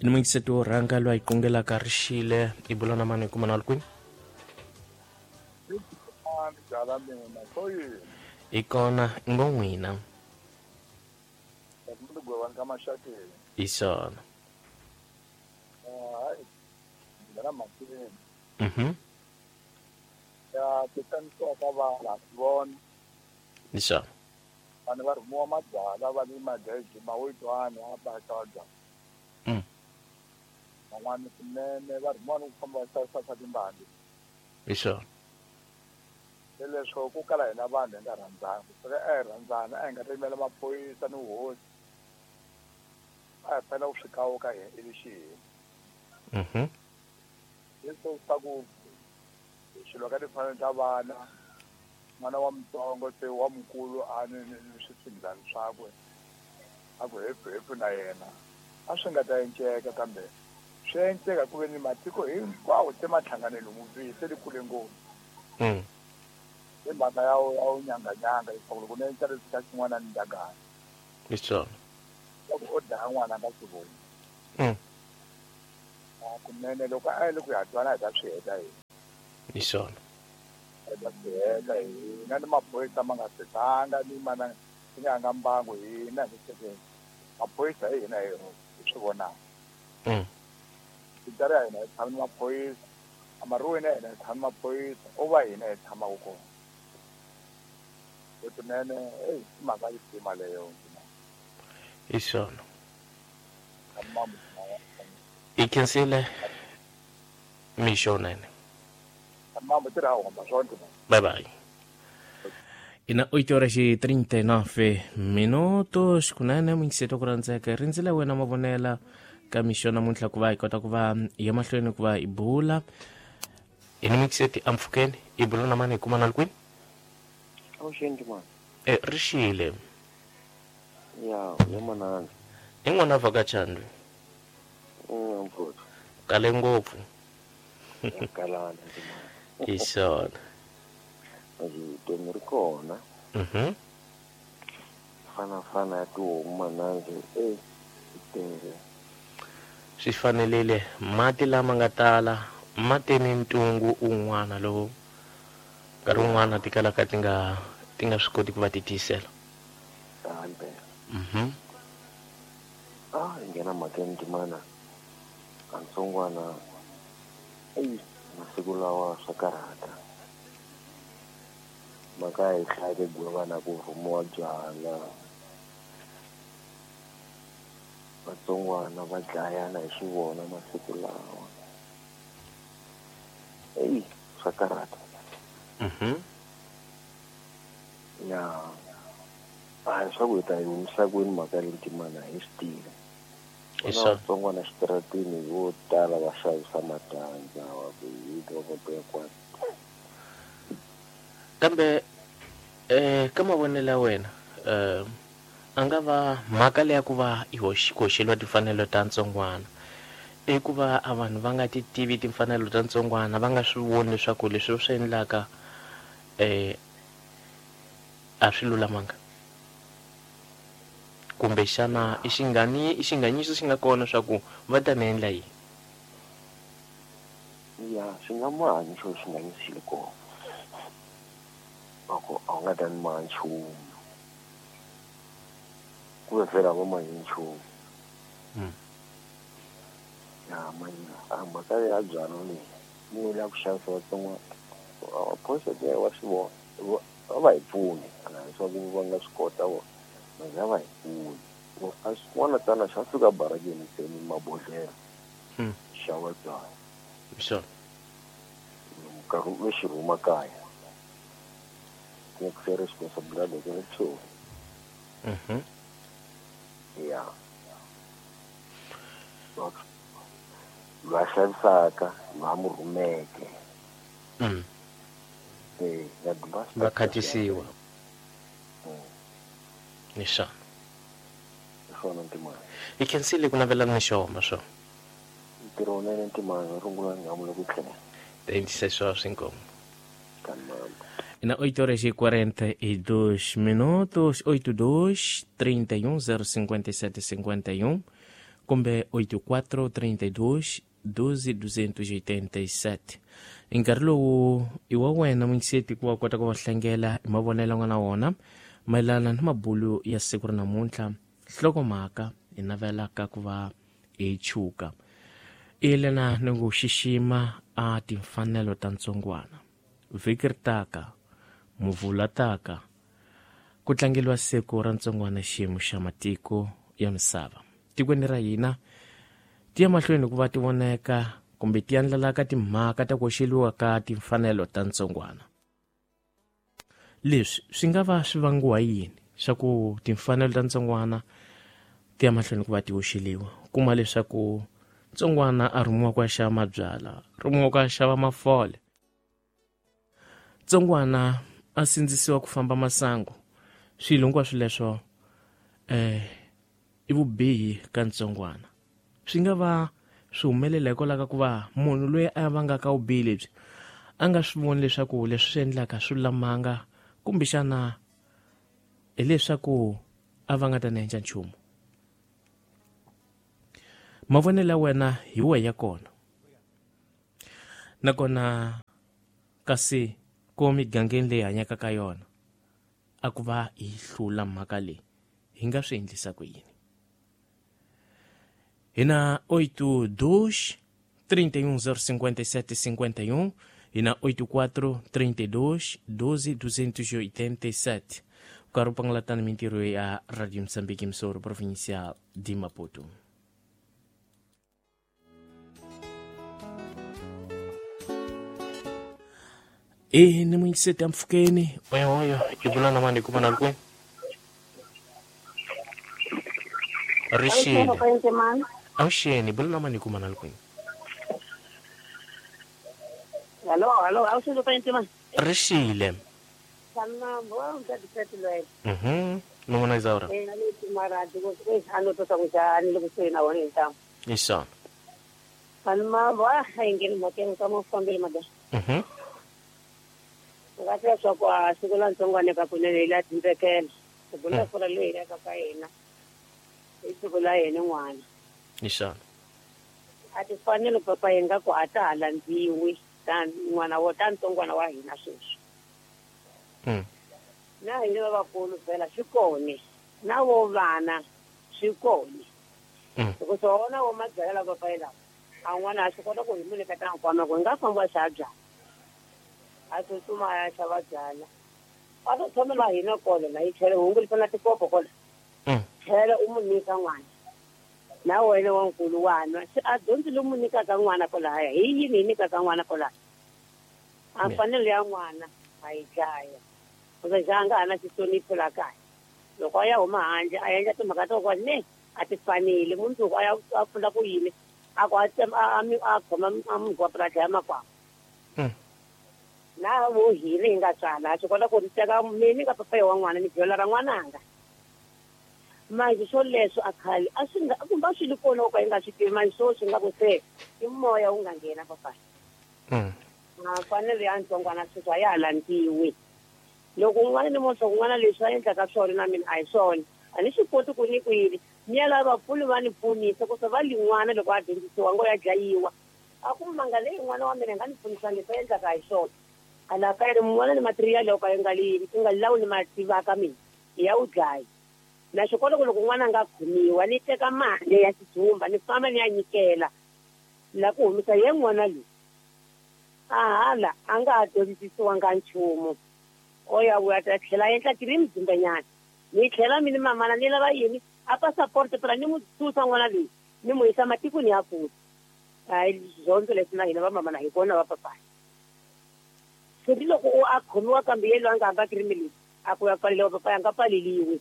Ni muyingiseti wo rhanga loyi a yi qungelaka rixile i bula na mani hi kuma na ri kwini? Hi kona ngo n'wina. Hi swona. Ya ku xanisiwa ka vana ha swi vona. Hi swona. Vanhu va rhumiwa mabyalwa va le mageji mawetwana a va xava byalwa. Van'wana swinene va rhumiwa ni ku famba va xavisa swa timbali. Hi swona. Se leswo ku kala hina vanhu hi nga rhandzani. Ku suka a hi rhandzana a hi nga ta yimela maphorisa ni vuhosi. A hi fanele ku swi kawuka hi ivi xi hina. Leswo swa ku swilo ka timfanelo ta vana n'wana wa mutsongo se wa mukulu a ni ni swisingilani swakwe a ku hefu hefu na yena a swi nga ta enceka kambe swi enceka ku ve ni matiko hinkwawo se ma hlangane lomu se li kule ngopfu. Hi mhaka ya ya unyanganyanga leswaku loko ni enca leswi ka xin'wana ni ndagana. Hi swona. Loko o dlaya n'wana a nga swi voni. Kunene loko a yele ku ya twana hi ta swi heta hina. Hi swona. Hi ta swi heta hina ni maphorisa ma nga fetanga ni mana ni nga nga mbangu hina hi sekeni. Maphorisa hi hina hi swi vonaka. Pitara ya hina hi tshama ni maphorisa, amaruweni ya hina hi tshama ni maphorisa, o va hina hi tshamaka kona. Kunene ei i mhaka yi sima leyo. Hi swona. I khensile mixo nene. Bye bye. Ina 8 horas e 39 minutos kunene muyingiseti ku rhandzeka rindzile wena mavonela ka mixo namuntlha ku va hi kota ku va ya mahlweni ku va hi bula. Ina muyingiseti ampfhukeni i bula na mani hi kuma na le kwini? Avuxeni mani. Rixile. Ya, ya manana. I n'wana vhakachandwe. Mfuthu. Kale ngopfu. Kalana ndimana. Hi swona. Vutomi ri kona. Fana fana ya tihomu mananzi tele. Swi fanelile mati lama nga tala ma te ni ntungu un'wana lowu nkarhi wun'wana ti kalaka ti nga swi koti ku va ti tiyisela. Hi nghena mhakeni ndimana kantsongwana ei masiku lawa swa karhata. Mhaka hi hlaya gwevana ku rhumiwa byala. Vatsongwana va dlayana hi xivona masiku lawa. Ei swa karhata. Ya a swa ku hi ta yi humisa kwini mhaka leyi ndimana hi swi tivi. Vatsongwana xitaratini vo tala va xavisa matandza wa ku hi va ya kwani. Kambe ka mavonelo ya wena a nga va mhaka leya ku va i hoxeliwa timfanelo ta ntsongwana i ku va a vanhu va nga ti tivi timfanelo ta ntsongwana va nga swi voni leswaku leswi va swi endlaka a swi lulamanga kumbe xana i xinganyiso xi nga kona swa ku va ta ni endla yini? Ya swi nga mahanyi xo xinganyiso xi le kona. Loko a wu nga ta ni maha nchumu. Ku ve vhela va mahi nchumu. Ya mhaka mhaka ya byalwa leyi munhu la ku xavisa vatsongwana maphorisa wa swi vona va va hi pfuni leswaku va nga swi kota vona va va hi pfuni. A swin'wana tana xa fika barakeni ntsena mabodhlela xava byalwa. Sure. Nkarhi u xi rhuma kaya. Ku responsibility ya tsho. Ya. Lwa xavisaka, lwa mu rhumeke. Va khatisiwa. Ni swona. Swona ntimana. Hi khensile ku navelana ni xoma swo. Ntirho wunene ntimana rungula nhamu ku tlhela. Tengisa swa swinkomo. Na 8 horas e 42 minutos, 82 31 057 51. kumbe 84 32 12 287. Nkarhi lowu i wa wena mungiseti ku wa kota ku va hlangela hi mavonelo nga na wona mayelana na mabulu ya siku ra namuntlha, nhlokomhaka hi navelaka ku va hi chuka yelana ni ku xixima a timfanelo ta ntsongwana. Vhiki ri taka, muvula taka, ku tlangeliwa siku ra ntsongwana xiyimo xa matiko ya misava. Tikweni ra hina ti ya mahlweni ku va ti voneka kumbe ti andlalaka timhaka ta ku hoxeliwa ka timfanelo ta ntsongwana. Leswi swi nga va swi vangiwa yini swa ku timfanelo ta ntsongwana ti ya mahlweni ku va ti hoxeliwa? Kuma leswaku ntsongwana a rhumiwa ku ya xava mabyala, rhumiwa ku ya xava mafole, ntsongwana a sindzisiwa ku famba masangu. Swilo hinkwaswo leswo i vubihi ka ntsongwana. Swi nga va swi humelela hikwalaho ka ku va munhu loyi a vangaka vubihi lebyi a nga swi voni leswaku leswi swi endlaka swi lulamanga, kumbexana hileswaku a va nga ta ni endla nchumu. Mavonelo ya wena hi wehe ya kona, nakona kasi ko migangeni leyi hanyaka ka yona a ku va hi hlula mhaka leyi, hi nga swi endlisa ku yini? Hi na 82 31 057 51, hi na 84 32 12 287. Nkarhi wu pangalatana mintirho ya Radio Mozambique Msoro, provincial de Maputo. E ni muyingiseti ya mpfhukeni oyo i vula na mani kuma na kwe rixile avuxeni, bula na mani kuma na kwini. Hello, hello, avuxeni papa Ntimani. Rixile. Nona Isaura. Isso. Isso. Atifanele papa yenga ku ata landziwi tan n'wana wo ta ntsongwana wa hina sweswi. Na hina vakulu phela swi kona, na vo vana swi kona. Loko swona wo mabyala papa yela a n'wana a swi kota ku hi mu nyika ta nkwama ku hi nga famba xa byala, a tsutsuma a ya xava byala, a to tshamela hina kona la yi tlhela hungu na tikopo kona, tlhela u mu nyika n'wana na wena wa nkulu wa nwa se a dyondzi lomu nyikaka n'wana kwalahaya hi yini hi nyikaka n'wana kwalahaya a mfanelo ya n'wana a yi dlaya kumbe xa nga ha na xihlonipho la kaya loko a ya huma handle a endla timhaka to kwa ne a ti fanele mundzuku a ya a pfula ku yini a ku a a khoma a munhu wa purasi ya makwavo na vo hina hi nga tswala a swi kota ku ri teka mina ka papayi wa n'wana ni byela ra n'wananga manje swo leswo a khale a swi nga kumbe a swi li kona ku ka yi nga swi tivi manje swo swi nga ku se i moya wu nga nghena papayi a fanele ya ntsongwana sweswi a ya ha landziwi loko un'wana ni moswa kun'wana leswi a endlaka swona na mina a hi swona a ni swi koti ku ni ku yini ni ya lava vapfuni va ni pfunisa ku se va lin'wana loko a dyondzisiwa ngo ya dlayiwa a ku manga leyi n'wana wa mina nga ni pfunisa leswi a endlaka hi swona a la ka ri mun'wana ni material yo ka yi nga li ku nga lawuli ma tivaka mina ya wu dlaya na swi kota ku loko n'wana a nga khomiwa ni teka mali ya xidzumba ni famba ni ya nyikela la ku humisa ye n'wana loyi a hala a nga ha dyondzisiwanga nchumu o ya vuya ta tlhela a endla tiri mdzimbanyana ni tlhela mini mamana ni lava yini a passport phela ni n'wi susa n'wana loyi ni n'wi yisa matikweni ya kule hayi dyondzo leswi na hina va mamana hi vona va papayi se ni loko u a khomiwa kambe ye loyi a nga hamba kirimi leyi a ku ya pfaleliwa papayi a nga pfaleliwi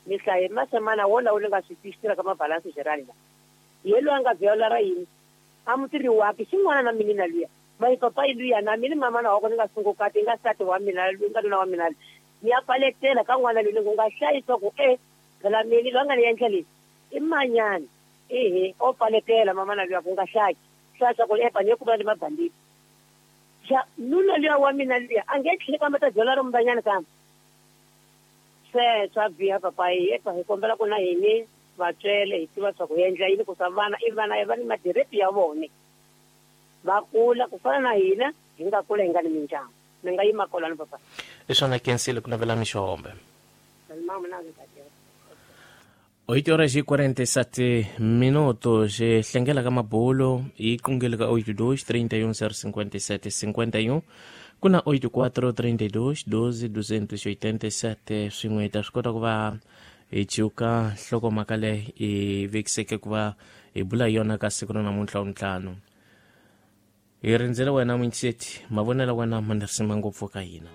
ni hlaye masemana wona wu ni nga swi twisisela ka mabalansi gerald la ye loyi a nga byela ra yini a mutirhi wakhe xin'wana na mina na luya mayi papayi luya na mina mamana wa kona ni nga sungukati nga nsati wa mina nga nuna wa mina ni ya paletela ka n'wana loyi ni ku nga hlayisa ku e phela mina loyi a nga ni endla leswi i manyani ehe o paletela mamana luya ku nga hlayi hlaya ku epa ni ku va ni mabanditi xa nuna luya wa mina luya a nge tlheli kambe ta byela ri mubanyana kambe se swa biha papayi epa hi kombela ku na hini Vatswele hi tiva swa ku endla yini ku swa vana i vana va ni madirepi ya vona. Va kula ku fana na hina hi nga kula hi nga ni mindyangu. Ni nga yima kolani papa. I swona kensile ku navela mixombe. Mama na ndzi ta 8 horas e 47 minutos. Hlengela ka mabulo yi qungile ka 82 31 057 51 ku na 84 32 12 287 swin'we hi ta swi kota ku va hi ciuka nhlokomhaka leyi hi vekiseke ku va hi bula hi yona ka siku ra namuntlha wuntlhanu. Hi rindzele wena muintiseti mavonelo wena ma ni risima ngopfu ka hina.